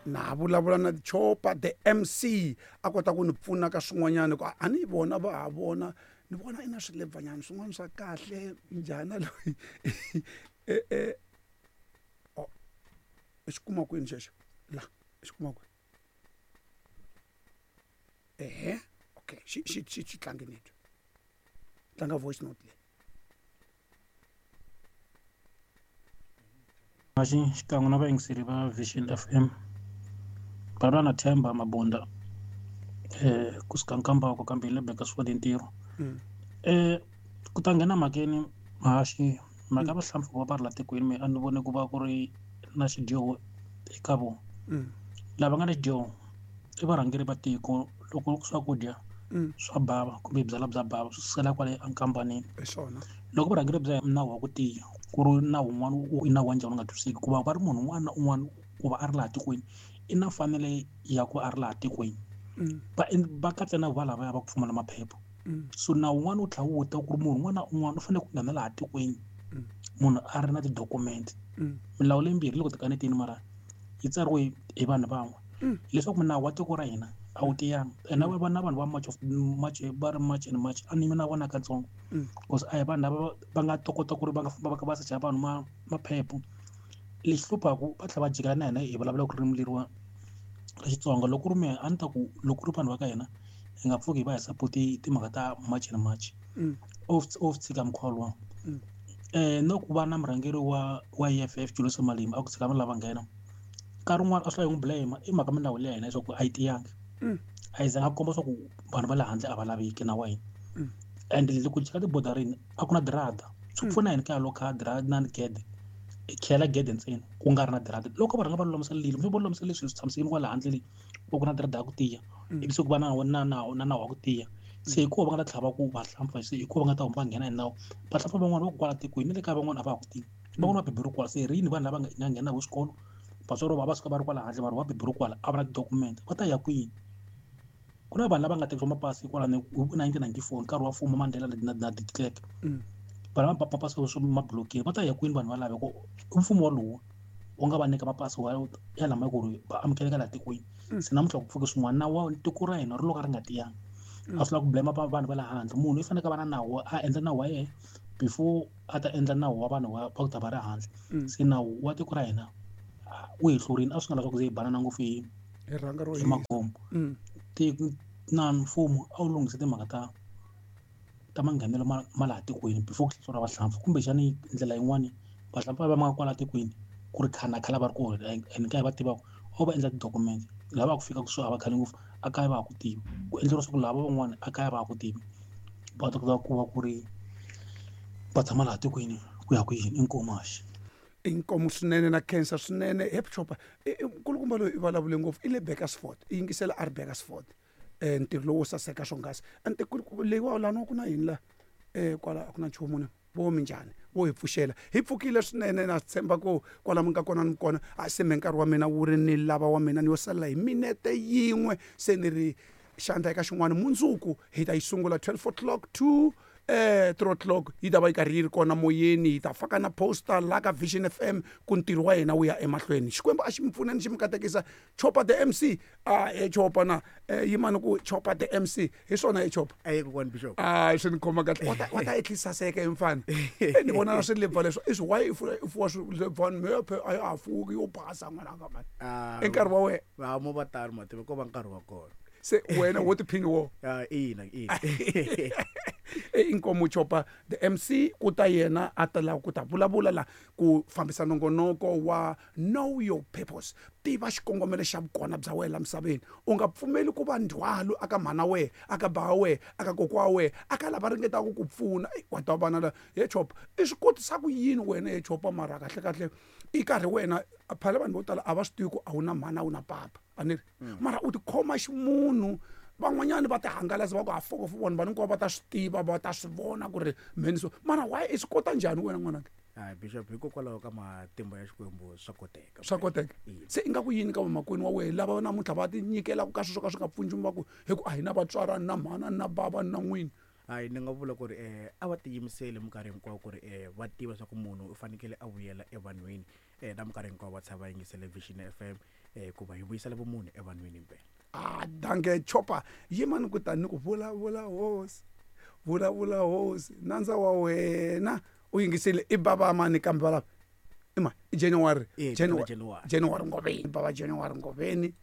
Na vulavula na Chopa the MC a kota ku ni pfuna ka swin'wanyana ku a ni vona va ha vona ni vona i na swilebvanyana swin'wana swa kahle njhani loyi e e oh, i xi kuma kwini xexo la i xi kuma kwini ehe okay xi xi xi xi tlangi ni twa tlanga voice note leyi. Maxi xikan'we na vayingiseri va Vision F_M vulavula na Themba Mabunda kusuka Nkambako kambe hi le Bakersford hi ntirho ku ta nghena mhakeni mhaxi mhaka ya vahlampfa ku va va ri la tikweni mehe a ni voni ku va ku ri na xidyoho eka vona lava nga na xidyoho i varhangeri va tiko loko swakudya swa bava kumbe byalwa bya bava swi sukela kwale enkampanini hi swona loko vurhangeri bya nawu wa ku tiya ku ri nawu wun'wana i nawu wa njhani u nga twisiseki ku va va ri munhu un'wana na un'wana ku va a ri laha tikweni i na mfanelo ya ku va a ri laha tikweni va va katsa na valavaya va ku pfumala maphepha so nawu wun'wana wu tlhela wu ta ku ri munhu un'wana na un'wana u fanele ku nghena laha tikweni munhu a ri na ti-document milawu leyimbirhi loko tikanetini mara yi tsariwe hi vanhu van'we leswaku nawu wa tiko ra hina a wu tiyanga ene va na vanhu va much of much va ri much and much a ni yimi na vona katsongo because a hi vanhu lava va nga ta kota ku ri va nga famba va kha va secha vanhu ma maphepha lexi hluphaku va tlhela va jikela na hina hi vulavulaka ririmi leriwa ra Xitsonga loko ku ri mehe a ni ta ku loko ku ri vanhu va ka hina hi nga pfuki hi va hi support timhaka ta March and March of tshika mukhuva luwa na ku va na murhangeri wa E_F_F Julius Malema a ku tshika vanhu lava nghena nkarhi wun'wani a swi lavi n'wi blame i mhaka milawu leya hina leswaku a yi tiyangi a yi zanga komba swa ku vanhu va le handle a va laveki na wa hina and loko cheka tibodarini a ku na dirada swi pfuna yini ka lokha dirada na gede i khiyela gede ntsena ku nga ri na dirada loko va rhanga va lulamisa lilo va lulamisa leswi swi tshamisekile kwala handle leyi ku na dirada ya ku tiya ivi se ku va na na nawu na nawu wa ku tiya se hikuva va nga ta tlhava ku vahlampfa se hikuva va nga ta huma va nghena hi nawu vahlampfa van'wana va ku kwala tikweni na le kaya van'wana a va ha ku tivi van'wana va beburiwe kwala se rini vanhu lava nga nghena hi xikolo vatswari va va suka va ri kwala handle vanhu va beburiwe kwala a va na ti-document va ta ya kwini ku na vanhu lava nga tekisiwa mapasi kwalano hi 1994 nkarhi wa mfumo Mandela na de Klerk vanhu va mapasi swo ma blokile va ta ya kwini vanhu valava ku i mfumo walowo wu nga va nyika mapasi wa ya lama ku ri va amukeleka laha tikweni se namuntlha ku pfuke swin'wana nawu wa tiko ra hina ri lo ka ri nga tiyanga a swi lava ku blame vanhu va le handle munhu i fanekele a va na nawu a endla nawu wa yena before a ta endla nawu wa vanhu va ku ta va ri handle se nawu wa tiko ra hina wu hi hlurile a swi nga leswaku ze hi banana ngopfu hi hi rhanga ro hi magomo na mfumo a wu lunghise timhaka ta ta manghenelo ma laha tikweni before ku hlaseriwa vahlampfa kumbexani ndlela yin'wani vahlampfa va nga kwala tikweni ku ri khale na khale va ri kona and kaya va tivaka o va endla ti-document lava va ku fika kusuhi a va khale ngopfu a kaya va ha ku tivi ku endleriwa swa ku lava van'wana a kaya va ha ku tivi va ta kota ku va ku ri va tshama laha tikweni ku ya kwini inkomu haxi. Inkomu swinene na khensa swinene he Chopa nkulukumba loyi i vulavule ngopfu i le Bakersford i yingisela a ri Bakersford ntirho lowo saseka swonghasi ante leyiwa lani ku na yini la kwala a ku na nchumu na vo minjhani vo hi pfuxela hi pfukile swinene na tshemba ku kwala mi nga kona ni kona a se me nkarhi wa mina wu ri ni lava wa mina ni yo salela hi minete yin'we se ni ri xandla eka xin'wana mundzuku hi ta yi sungula 12 o'clock to 3 o'clock yi ta va yi karhi yi ri kona moyeni hi ta faka na poster la ka Vision FM ku ntirho wa hina wu ya emahlweni Xikwembu a xi mi pfuneni xi mi katekisa Chopa the MC a he Chopa na yimani ku Chopa the MC hi swona he Chopa aye kokwani Bishop a swi ni khoma kahle wa ta ehlisa saseka hi mfana ni vona na swilebva leswi i swi why i fuwa swilebvani mephe a ya ha fuki yo basa n'wana ka mani i nkarhi wa wena va mo va tano mativa ko va nkarhi wa kona se wena wo tiphini wo ina ina inkomu Chopa the MC ku ta yena a ta lava ku ta vulavula la ku fambisa nongonoko wa know your purpose tiva xikongomelo xa vukona bya wena la misaveni u nga pfumeli ku va ndzhwalo aka mhana wehe aka bava wehe aka kokwa wa wehe aka lava ringetaka ku pfuna wa twa vana la he Chopa i swi kotisa ku yini wena he Chopa mara kahle kahle i karhi wena phela vanhu vo tala a va swi tivi ku a wu na mhana a wu na papa a ni ri mara u tikhoma ximunhu van'wanyani va ti hangalasa va ku ha fokofo vanhu vanhu hinkwavo va ta swi tiva va ta swi vona ku ri mheni so mara why i swi kota njhani wena n'wananga hayi Bishop hikokwalaho ka matimba ya Xikwembu swa koteka swa koteka se ingaku yini ka vamakwenu wa wena lava namuntlha va ti nyikelaka ka swilo swo ka swi nga pfuni nchumu va ku hi ku a hi na vatswari a ni na mhana a ni na bava a ni na n'wini. Hayi, ni nga vula ku ri a va tiyimiseli minkarhi hinkwayo ku ri va tiva swa ku munhu u fanekele a vuyela evanhwini, na minkarhi hinkwayo va tshama va yingisele Vision FM, hikuva hi vuyisela vumunhu evanhwini himpela. Ah, danke Chopa. Yima ni ku tani ni ku vulavula hosi, vulavula hosi, nandza wa wena u yingisile. I baba mani kambe valava? I mani? I January. Eh, January. January. January Ngoveni. Baba January Ngoveni.